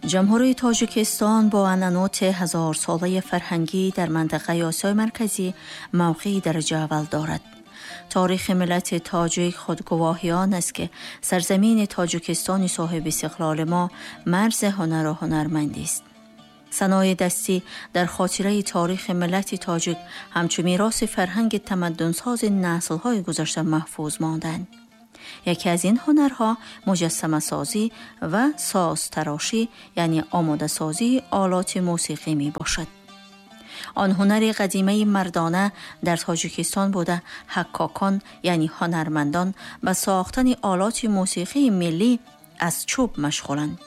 جمهوری تاجیکستان با عنعنات هزار ساله فرهنگی در منطقه آسیای مرکزی موقع درجه اول دارد. تاریخ ملت تاجیک خودگواهی آن است که سرزمین تاجیکستان صاحب استقلال ما مرز هنر و هنرمندی است. صنایع دستی در خاطره تاریخ ملت تاجیک همچون میراث فرهنگ تمدنساز نسل‌های گذشته محفوظ ماندند. یکی از این هنرها مجسمه سازی و ساز تراشی، یعنی آماده سازی آلات موسیقی می باشد. آن هنر قدیمه مردانه در تاجیکستان بوده حکاکان یعنی هنرمندان به ساختن آلات موسیقی ملی از چوب مشغولند.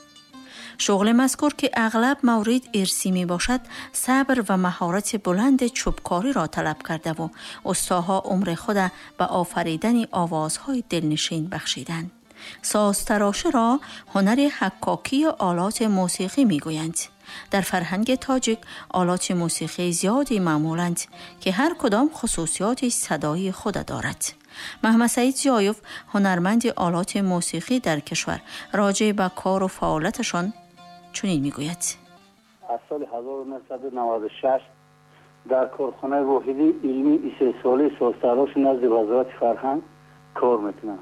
شغل مذکور که اغلب مورد ارثی می باشد صبر و مهارت بلند چوبکاری را طلب کرده و استاها عمر خود به آفریدن آوازهای دلنشین بخشیدند. ساز تراشه را هنر حکاکی آلات موسیقی می گویند. در فرهنگ تاجیک آلات موسیقی زیادی معمولند که هر کدام خصوصیات صدایی خود دارد. محمد سعید ضیایف هنرمند آلات موسیقی در کشور راجع به کار و فعالیتشان چنین میگوید: از سال 1996 در کارخانه واحدی علمی استحصالی سازتراش نزد وزارت فرهنگ کار میکنم.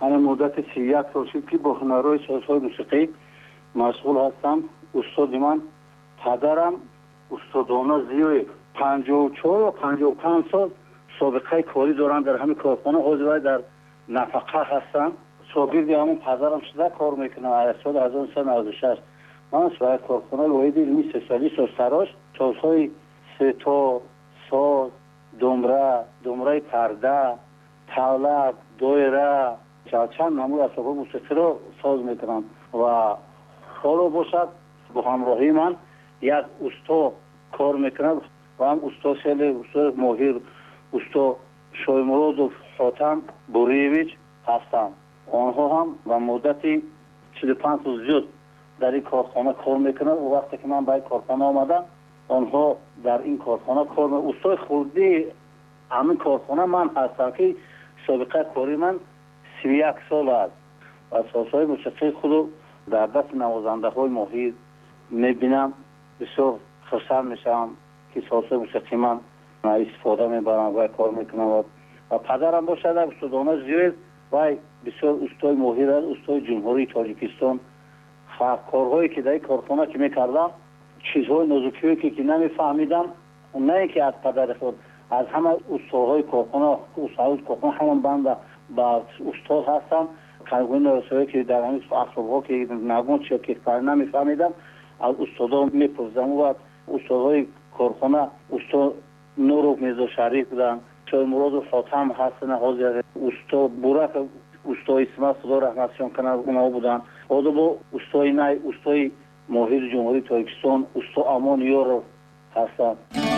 من مدت 31 سال شد که با هنرهای سازهای موسیقی مشغول هستم. استاد من پدرم استادانه زیاد 54 و 55 سال سابقه کاری دارم در همین کارخانه. حاضر در نفقه هستم. شاگرد همون پدرم شده کار میکنم. از سال 1996 من برای کارخانه واحد علمی استحصالی سازتراش سازهای سه‌تار، ساز، دمره، دمره پرده، طبله، دایره، چند نمود اسباب موسیقی رو ساز میکنم و حالا باشد با همراهی من یک استا کار میکنم و هم استا خیلی استا ماهر استا شایمرادов حاتم بوریویچ هستم. آنها هم و مدت 45 سال زیاد در این کارخانه کار میکنند و وقتی که من به این کارخانه آمدم آنها در این کارخانه کار میکنند. استای خردی همین کارخانه من هستم که سابقه کاری من 31 سال است و سازهای موسیقی خود در دست نوازنده های ماهر میبینم. بسیار خوشحال میشم که سازهای موسیقی من استفاده میبرم و کار میکنم و پدرم باشد استادانه زیاد و بسیار استای ماهر است، استای جمهوری تاجیکستان. کارهایی که در این کارخانه که میکردم چیزهای نازکی که نمیفهمیدم، نه اینکه از پدر خود، از همه استادهای کارخانه، استادهای کارخانه همون بنده با استاد هستم. کارگوی نرسایی که در همین اسباب‌ها که نگون چه که نمیفهمیدم از استادا میپرسیدم و استادهای کارخانه استاد نورو میرزا شریف بودن، شایمراد و حاتم هستن، حاضر استاد بورک، استاد اسمت خدا رحمتشان کنه، اونها بودن. بعد با استاد نای، استاد ماهر جمهوری تاجیکستان، استاد امان یارو هستن.